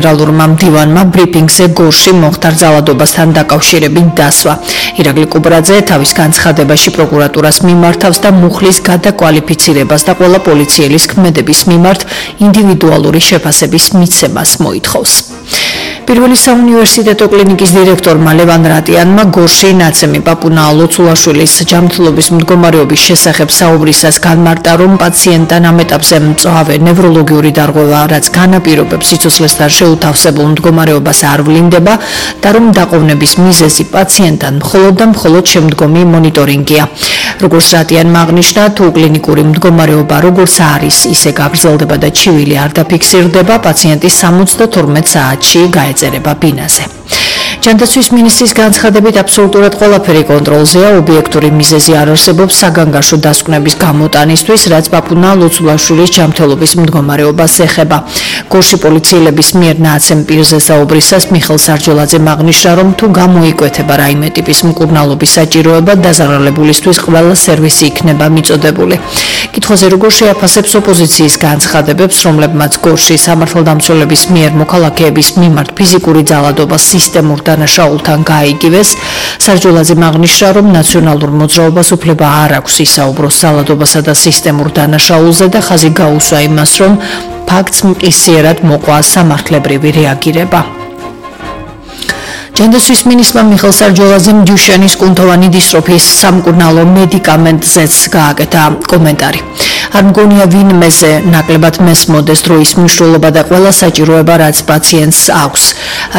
გენერალურმა მდივანმა ბრიფინგზე გორში მომხდარ ძალადობასთან დაკავშირებით დასვა. ირაკლი კუბრაძე თავის განცხადებაში პროკურატურას მიმართავს და მუხლის გადაკვალიფიცირებას და ყველა პოლიციელის ქმედების მიმართ ინდივიდუალური შეფასების მიცემას მოითხოვს. პირველი საუნივერსიტეტო კლინიკის დირექტორმა ლევან რატიანმა გორში ნაცემი პაპუნა ლოცულაშვილის ჯანმრთელობის მდგომარეობის შესახებ საუბრისას განმარტა, რომ პაციენტთან ამ ეტაპზე მწვავე ნევროლოგიური დარღვევა, რაც განაპირობებს სიცოცხლესთან შეუთავსებულ მდგომარეობას არ ვლინდება და რომ დაყოვნების მიზეზი პაციენტთან მხოლოდ და მხოლოდ შემდგომი მონიტორინგია. როგორც რატიანმა აღნიშნა, თუ კლინიკური მდგომარეობა როგორც არის, ისე გაგრძელდება და ჩივილი არ დაფიქსირდება, პაციენტი 72 საათში გაეწერება ბინაზე. ჯანდაცვის მინისტრის განცხადებით აბსოლუტურად ყველაფერი კონტროლზეა, ობიექტური მიზეზი არ არსებობს საგანგაშო დასკვნების გამოტანისთვის, რაც პაპუნა ლოცულაშვილის ჯანმრთელობის მდგომარეობას ეხება. გორში პოლიციელების მიერ ნაცემ პირზე საუბრისას მიხეილ სარჯოლაძემ აღნიშნა, რომ თუ გამოიკვეთება რაიმე ტიპის მკურნალობის საჭიროება, დაზარალებულისთვის ყველა სერვისი იქნება მიწოდებული. კითხვაზე როგორ შეაფასებს ოპოზიციის განცხადებებს, რომლებმაც გორში სამართალდამცველების მიერ მოქალაქეების მიმართ ფიზიკური ძალადობა სისტემურ დანაშაულთან გაიგივეს, სარჯოლაძემ აღნიშნა, რომ ნაციონალურ მოძრაობას უფლება არ აქვს ისაუბროს ძალადობასა და სისტემურ დანაშაულზე და ხაზი გაუსვა იმას, რომ ფაქტს მყისიერად მოყვა სამართლებრივი რეაგირება. ჯანდაცვის მინისტრმა მიხეილ სარჯოლაძემ დუშენის კუნთოვანი დისტროფიის სამკურნალო მედიკამენტზეც გააკეთა კომენტარი. არ მგონია ვინმეზე ნაკლებად მესმოდეს დროის მნიშვნელობა და ყველა საჭიროება, რაც პაციენტს აქვს.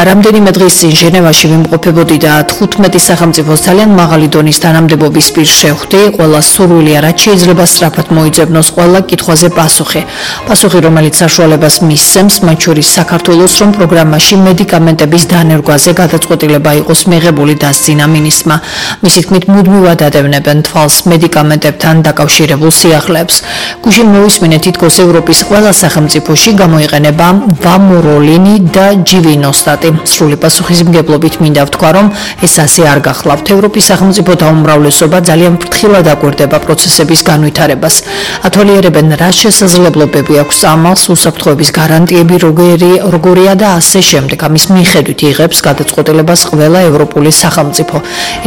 რამდენიმე დღის წინ ჟენევაში ვიმყოფებოდი და 15 სახელმწიფოს ძალიან მაღალი დონის თანამდებობის პირს შევხვდი, ყველა სურვილია, რაც შეიძლება სწრაფად მოიძებნოს ყველა კითხვაზე პასუხი. პასუხი, რომელიც საშუალებას მისცემს, მათ შორის საქართველოს, რომ პროგრამაში მედიკამენტების დანერგვაზე გადაწყვეტილება იყოს მიღებული, დასძინა მინისტრმა. მისი თქმით, მუდმივად ადევნებენ თვალს მედიკამენტებთან დაკავშირებულ სიახლეებს. გუშინ მოვისმინეთ, თითქოს ევროპის ყველა სახელმწიფოში გამოიყენება ვამოროლინი და ჯივინოსტატი. სრული პასუხისმგებლობით მინდა ვთქვა, რომ ეს ასე არ გახლავთ. ევროპის სახელმწიფოთა უმრავლესობა ძალიან ფრთხილად აკვირდება პროცესების განვითარებას. ათვალიერებენ, რა შესაძლებლობები აქვს წამალს, უსაფრთხოების გარანტიები როგორია და ასე შემდეგ. ამის მიხედვით იღებს გადაწყვეტილებას ყველა ევროპული სახელმწიფო.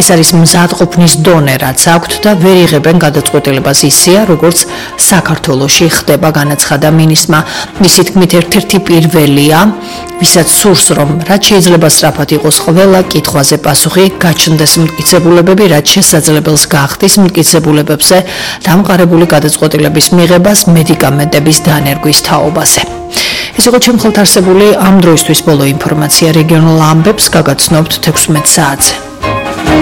ეს არის მზადყოფნის დონე, რაც აქვთ და ვერ იღებენ გადაწყვეტილებას ისეა, როგორც საქართველოში ხდება, განაცხადა მინისტრმა. მისი თქმით, ერთ-ერთი პირველია, ვისაც სურს, რომ რაც შეიძლება სწრაფად იყოს ყველა კითხვაზე პასუხი, გაჩნდეს მტკიცებულებები, რაც შესაძლებელს გახდის მტკიცებულებებზე დამყარებული გადაწყვეტილების მიღებას მედიკამენტების დანერგვის თაობაზე. ეს იყო ჩემ ხელთ არსებული ამ დროისთვის ბოლო ინფორმაცია. რეგიონულ ამბებს გაგაცნობთ 16 საათზე.